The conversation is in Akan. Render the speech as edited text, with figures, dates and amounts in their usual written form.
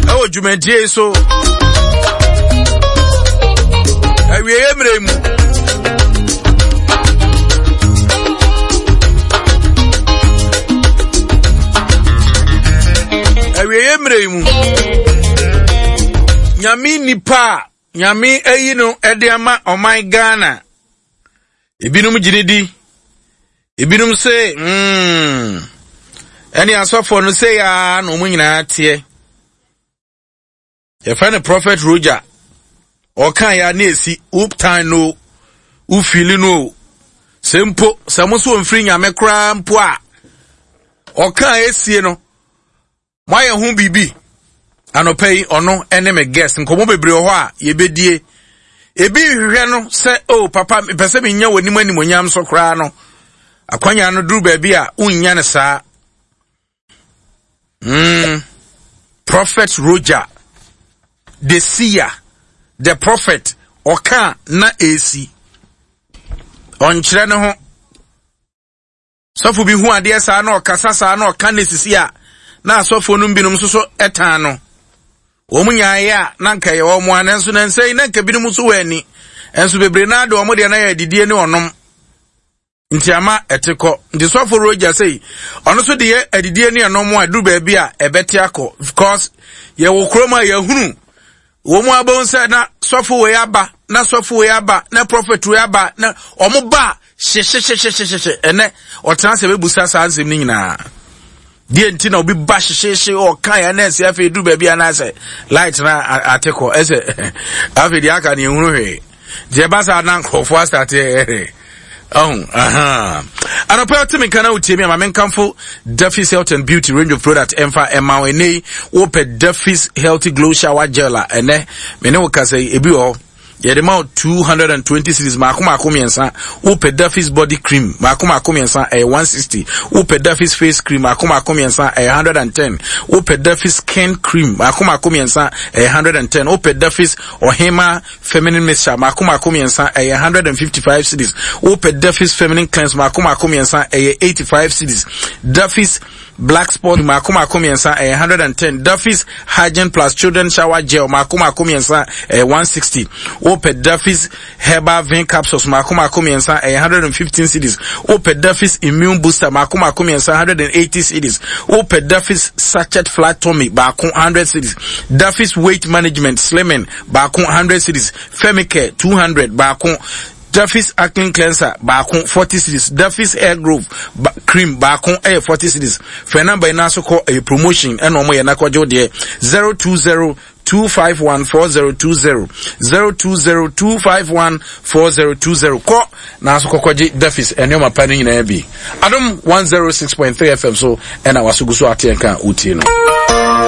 Ɛwɔ dwumadie yi so. Awieeɛ mmerɛ mu. Awieeɛ mmerɛ yi mu. Nyame nipa a Nyame ayi no de ama ɔman Ghana. Ebinom gye ne di. Ebinom se, mm, ɛne asɔfoɔ no sei ara na wɔn nyinaa teɛ. Yɛfrɛ no Prophet Roger. Ɔka ya ne esi, wotan no, wofili no o. Sɛ mpo, sɛ mo nso ɔmfiri nyame koraa mpo a, ɔka esie no, Moayɛ ho biribi? Anɔpa yi, ɔno ne me guest. Nkɔmmɔ bebree wɔ hɔ a yɛbɛdie. Ebi hwehwɛ no sɛ, oh papa, mepɛ sɛ menya w'anim animonyam so koraa no. Akwanya no duru baabi a wonnya no saa. Mm. Prophet Roger, the seer, the prophet, ɔka na esi. Ɔnkyerɛ ne ho. Sɔfo bi hu adeɛ saa na ɔkasa saa na ɔka ne sisi a, na asɔfoɔ no binom nso so tan no. Wɔn nyaeɛ a na nka ɛyɛ wɔn a, nanso nansa yi na nka binom nso wɔ ani. Nso bebree naa de wɔn deɛ na yɛ adidie ne ɔnom. Nti ama ɛte kɔ. Nti sɔfo Roger sei, ɔno nso de yɛ adidie ne ɛnom a ɛduru baabi a ɛbɛte akɔ. Because yɛwɔ kurom a yɛhunu wɔn mu abɛn sɛ na sɔfo wei aba na sɔfo wei aba na prɔfɛt wei aba na wɔn ba hyehyehyehyehye ɛnɛ ɔtena sɛ bɛbusa saa nsɛm no nyinaa deɛ nti na obi ba hyehyehye ɔka yɛ na ɛsɛ afei duru baabi anaasɛ light na ate kɔ ɛsɛ afei deɛ aka ne ehunu hwee deɛ ɛba saa na nkurɔfoɔ asate ɛhɛ Oh, uh-huh. Anɔpɛ ɔte me nka na wotie me ama menkamfo Duffy's Health and Beauty range of product ɛmfa ɛma wo ɛnɛ yi wopɛ Duffy's Healthy Glow Shower Gel a ɛnɛ me ne wo kasa yi ebi wɔ hɔ yɛde ma wo 220 series maako maako mmiɛnsa wopɛ Duffy's body cream maako maako mmiɛnsa ɛyɛ 160 wopɛ Duffy's face cream maako maako mmiɛnsa ɛyɛ 110 wopɛ Duffy's skin cream maako maako mmiɛnsa ɛyɛ 110 wopɛ Duffy's ɔhema Feminine mixture mako mako mmiɛnsa ɛyɛ 155 cedis. Wopɛ Duffy's feminine cleanse mako mako mmiɛnsa ɛyɛ 85 cedis. Duffy's black spot mako mako mmiɛnsa ɛyɛ 110. Duffy's hygiene plus children shower gel mako mako mmiɛnsa ɛyɛ 160. Wopɛ Duffy's herbal vein capsules mako mako mmiɛnsa ɛyɛ 115 cedis. Wopɛ Duffy's immune booster mako mako mmiɛnsa 180 cedis. Wopɛ Duffy's sachet flat tummy baako 100 cedis. Duffy's weight management slimming baako 100 cedis, Femicare 200 baako, Duffy's acne cleanser baako 40 cedis, Duffy's hair growth ba cream baako ɛyɛ 40 cedis. Fɛ namba yi n'aso kɔ ɛyɛ promotion ɛna wɔn yɛ n'akɔgye deɛ 020 251 4020 020 251 4020 kɔ n'aso kɔkɔgye Duffy's nneɛma pa no nyinaa bi. Adom 106.3 FM so ɛna waso gu so ateɛ nka wotie no.